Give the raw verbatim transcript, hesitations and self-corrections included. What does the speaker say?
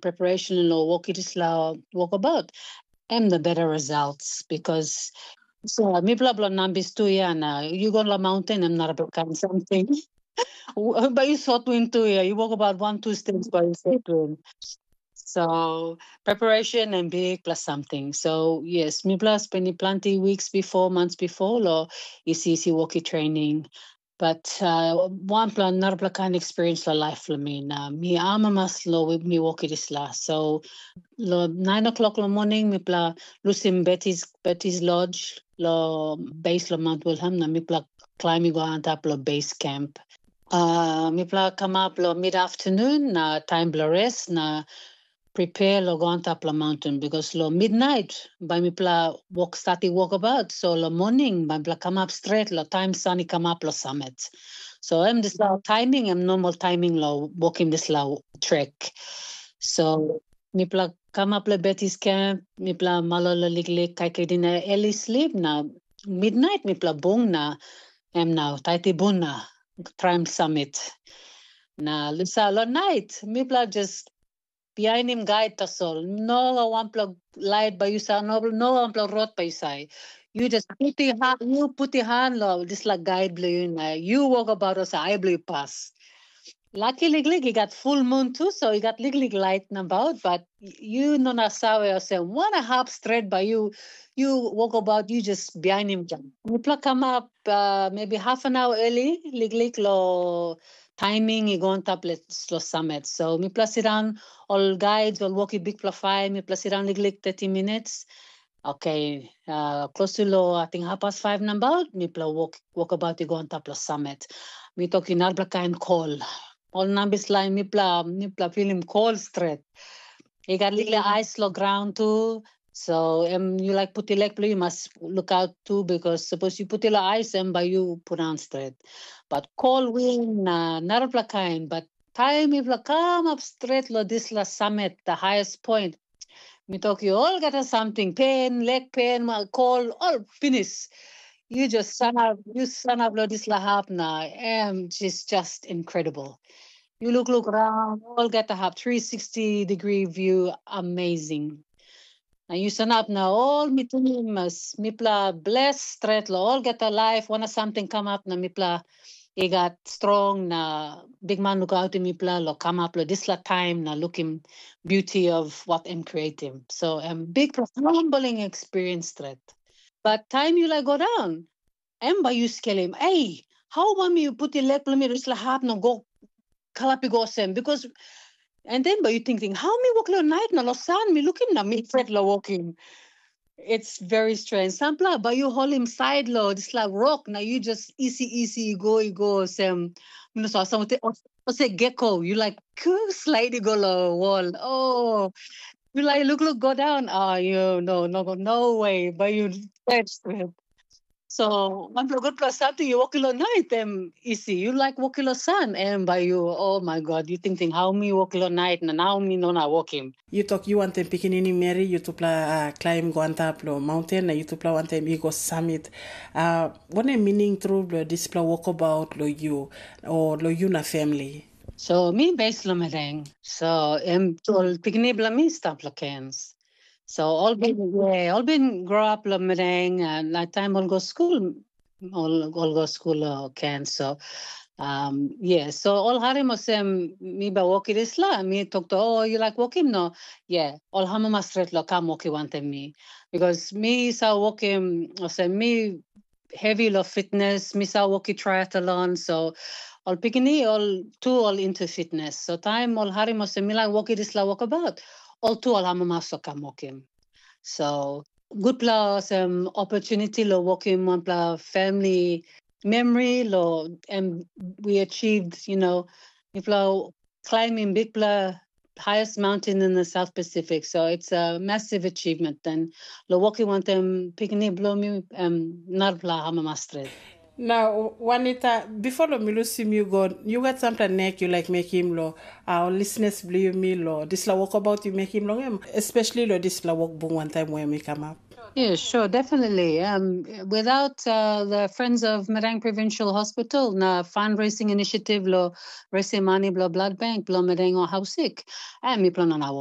preparation lo wok i dispela wokabaut, em the better results because so mipela bilong nambis tu ya na you go long mountain em not a big kind something. But you sot win tu ya, you walk about one two steps by you sot win. So preparation and big plus something. So yes, mipela spending plenty weeks before, months before lo isi isi walkie training. But uh, wanpela narapela kain experience lo life lo mi na mi amamas lo mi walkie disla. So lo nine o'clock lo morning mipela lusim Betty's Betty's Lodge lo base lo Mount Wilhelm na mipela climb i go antap lo base camp. Uh, mipela kamap lo mid afternoon na time blo rest na prepare lo go antap lo mountain because lo midnight bai mipela wok start i walkabout, so lo morning bai mipela kamap stret lo time sun i kamap lo summit. So em dispela timing em normal timing lo walking dispela trek. So mipela kamap lo Betty's camp, mipela malolo liklik kaikai dina early sleep na midnight mipela bung na em nau taiti bun na traim summit. Na lusa lo night mipela just bihainim guide tasol. No wanpela light bai yu sa, no, no wanpela rot bai yu sai. Yu just puti ha, yu puti han lo dispela guide blo yu na yu wokabaut olsem ai blo yu pas. Laki liklik i gat full moon tu, so i gat liklik light nabaut, but yu no na save olsem wana hap stret bai yu yu wokabaut yu just bihainim. Mipela kamap uh, maybe half an hour early liklik lo timing i go antap lo summit. So mipela sit down, ol guides ol woki bikpela fai, mipela sit down liklik thirty minutes. Okay, uh, close to lo I think half past five nabaut mipela walk walkabout i go antap lo summit. Mi toki narapela kain kol. Ol nambis lain mipela mipela filim kol stret. I gat liklik ais lo graun tu. So em yu laik puti lek bilong yu mas lukaut tu, because sapos yu puti long ais em bai yu pundaun stret. But kol win na narapela kain, but taim mipela kamap stret long dispela samet, the highest point, mi tok yu olgeta samting, pen, lek pen, kol, ol pinis. Yu just sanap, yu sanap long dispela hap na em is just incredible. Yu lukluk raun olgeta hap, three sixty degree view, amazing. Na yu sanap na ol mi tingim mas mipela bles stret long olgeta laip, wana samting kamap na mipela i gat strong na bikman lukautim mipela long kamap long dispela taim na lukim beauty of what em creatim. So em bikpela humbling experience stret. But taim yu laik go daun, em bai yu skelim, ei, hau bai mi putim lek bilong mi long dispela hap na go kalap i go olsem, because and then bai yu tingting, hau mi wok long nait na long san mi lukim na mi pret long wokim. It's very strange. Sampela bai yu holim sait long dispela rok na yu just isi isi i go i go olsem, mi no sa olsem geko, yu laik slait i go long wol. Oh, yu laik lukluk go daun. Oh, yu no no no way bai yu pret stret. So wanpela gutpela samting yu wokim long nait em isi. Yu laik wokim long san em bai yu, oh my God, yu tingting, hau mi wokim long nait na nau mi no na wokim. Yu tok yu wantaim pikinini meri, yutupela uh, klaim go antap long maunten na yutupela wantaim i go samit. Uh, wanem mining tru bilong dispela wokabaut long yu o long yu na famili? So mi base long Madang. So em ol pikinini bilong mi stap long Cairns. So ol bin yeah, ol bin grow up long Madang, and na taim ol go skul, ol ol go skul long Cairns. So um, yeah, so ol harim olsem mi bai wokim dispela, mi tok to, oh, you like wokim? No, yeah, ol amamas stret lo kam wokim wantaim mi, because mi sa wokim olsem mi heavy lo fitness, mi sa wokim triathlon, so ol pikinini ol tu ol into fitness. So taim ol harim olsem mi laik wokim dispela wokabaut, ol tu ol amamas o kam wokim. So gutpela olsem opportunity lo wokim wanpela family memory lo em we achieved, you know, mipela climbing bikpela highest mountain in the South Pacific. So it's a massive achievement. And lo wokim wantaim pikinini bilong mi em narapela amamas stret. Na Juanita, before lo mi lusim yu go, yu gat sampela nek yu laik mekim lo uh, ol listeners bilong yumi lo dispela wokabaut yu mekim long em, especially lo dispela wokbung wantaim we mi kamap. Yeah, sure, definitely. Um, without uh, the Friends of Madang Provincial Hospital na fundraising initiative lo raising money blo blood bank blo Madang o Hausik, em mipela no na